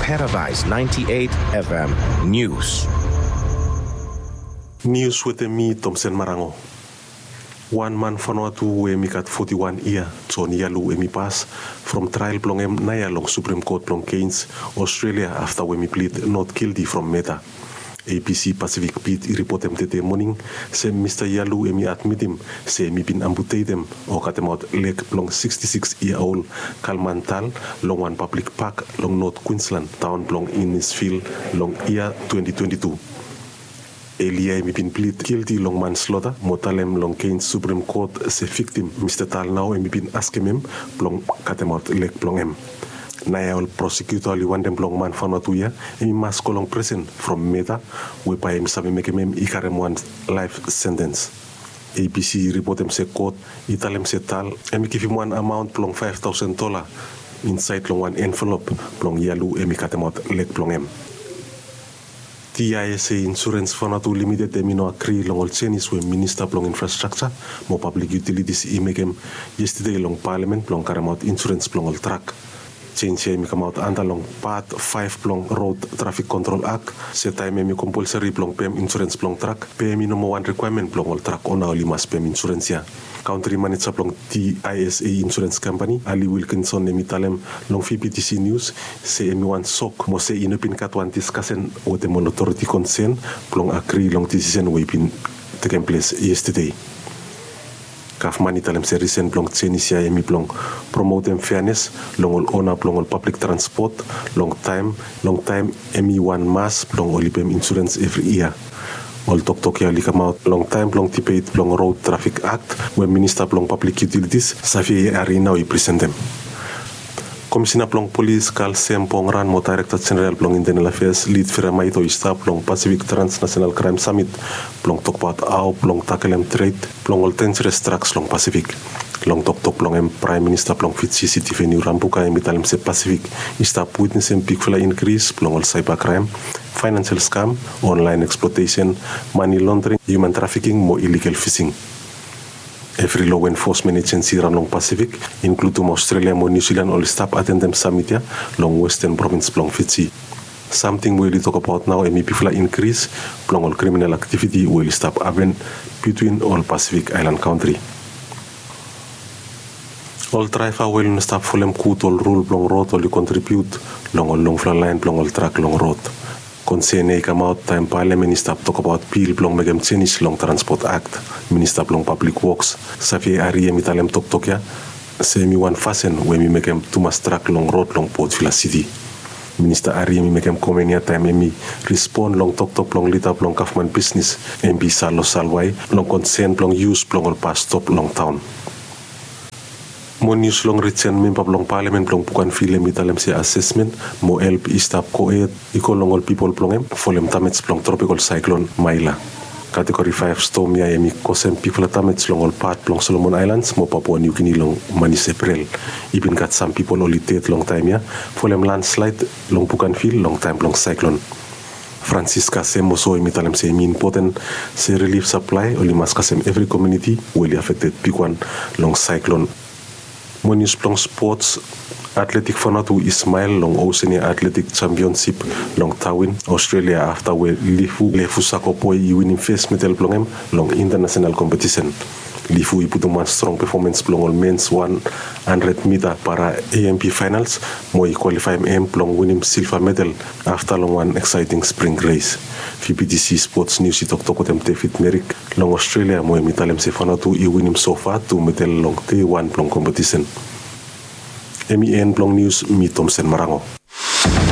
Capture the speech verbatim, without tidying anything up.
Paradise ninety-eight F M News. Nius wetem mi, Tomsen Marango. Wan man Vanuatu we hemi gat foti wan yia, John Yalu, hemi pas from trael blong hem naoia long Supreme Court blong Cairns, Australia, afta we hemi plid not guilty from murder. A B C Pacific Beat i ripotem tede moning se Mista Yalu hemi admitim se hemi bin amputetem o katemaot leg blong sixty-six year old Kalman Tal long wan pablik pak long North Queensland, taon blong Innisfil, long yia twenty twenty-two. Elia hemi bin plid guilty long manslaughter mo talem long Cairns Supreme Court se viktim, Mista Tal, nao hemi bin askem hem blong katemaot leg blong hem. Naoia ol prosecutor oli wantem blong man Vanuatu ia hemi mas go long presen from murder we bae hemi save mekem hem i karem wan life sentence. A B C i ripotem se court i talem se Tal hemi givim wan amaon blong five thousand dollar insaed long wan envelop blong Yalu hemi katemaot leg blong hem. T I S A Insurance Vanuatu Limited hemi no agri long ol jenis we Minista blong Infrastructure mo Public Utilities i mekem yestede long Palamen blong karemaot insurens blong ol trak. Jenis ia hemi kamaot anda long Part five blong Road Traffic Control Act, se taem hemi kompalsari blong pem insurens blong trak, be hemi no moa wan rikwaemen blong ol trak ona oli mas pem insurens ia. Kantri maneja blong T I S A Insurance Company, Ali Wilkinson, hemi talem long V B T C News se hemi wan sok mo se i no bin gat wan diskasen wetem ol otoriti konsen blong agri long disisen we i bin tekem ples yestede. Gavman i talem se risen blong jenis ia hemi blong promotem feanes long ol ona blong ol pablik transpot long taem, long taem hemi wan mas blong oli pem insurens evri yia. Ol toktok ia oli kamaot long taem blong dibet blong Road Traffic Act we Minista blong Public Utilities, Xavier Arry, nao i presentem. Komisena blong Polis, Karl Sam Pongran, mo Daerekta Jeneral blong Intenal Afeas, Lit Vera Maito, i stap long Pacific Transnational Crime Summit blong tokbaot hao blong takelem tred blong ol denjeres draks long Pasifik. Long toktok blong hem, Praem Minista blong Fiji, Sitiveni Rabuka, hemi talem se Pasifik i stap witnesem bigfala inkris blong ol saeba kraem, faenansial skam, onlaen eksplotesen, mane londring, hiuman trafiking mo iligal fising. Evri loa enfosmen ejensi raon long Pasifik, inkludim Aostralia mo Niu Silan, oli stap atendem samit ia long westen provins blong Fiji. Samting we oli tokbaot nao hemi bigfala inkris blong ol kriminal aktiviti we oli stap hapen bitwin ol Pasifik aelan kantri. Ol draeva we oli no stap folem gud ol rul blong rod oli kontribiut long ol longfala laen blong ol trak long rod. Konsen ia i kamaot taem Palamen i stap tokbaot bil blong mekem jenis long Transport Act. Minista blong Pablik Woks, Xavier Arry, hemi talem toktok ia se hemi wan fasin we hemi mekem tumas trak long rod long Port Vila Siti. Minista Arry hemi mekem komen ia taem hemi respon long toktok blong lida blong gavman bisnes, M P Salo Salwai, long konsen blong yus blong ol bas stop long taon. Mo nius long rijen, memba blong Palamen blong Bougainville hemi talem se asesmen mo help i stap gohed i go long ol pipol blong hem folem damej blong tropikol saeklon Maila. Kategori faef stom ia hemi kosem bigfala damej long ol pat blong Solomon Aelans mo Papua Niu Gini long manis Eprel. I bin gat sam pipol oli ded long taem ia folem lanslaed long Bougainville long taem blong saeklon. Francisca Semoso hemi talem se hemi impoten se rilif saplae oli mas kasem evri komuniti we oli afekted bigwan long saeklon. Mo nius blong spots, atletik Vanuatu i smael long Oceania Atletik Jampionsip long Darwin, Aostralia, afta we Lifu Lefu Sakoboi i winim fes medal blong hem long intanasenal kompetisen. Lifu i putum wan strong pefomens blong ol mens wan handred mita para A M P faenals mo i kwalifaem hem blong winim silva medal afta long wan eksaeting spring res. V B T C Spots Nius i toktok wetem David Merrick long Aostralia mo hemi talem se Vanuatu i winim sofa tu medal long dei wan blong kompetisen. Hemi en blong nius, mi Tomsen Marango.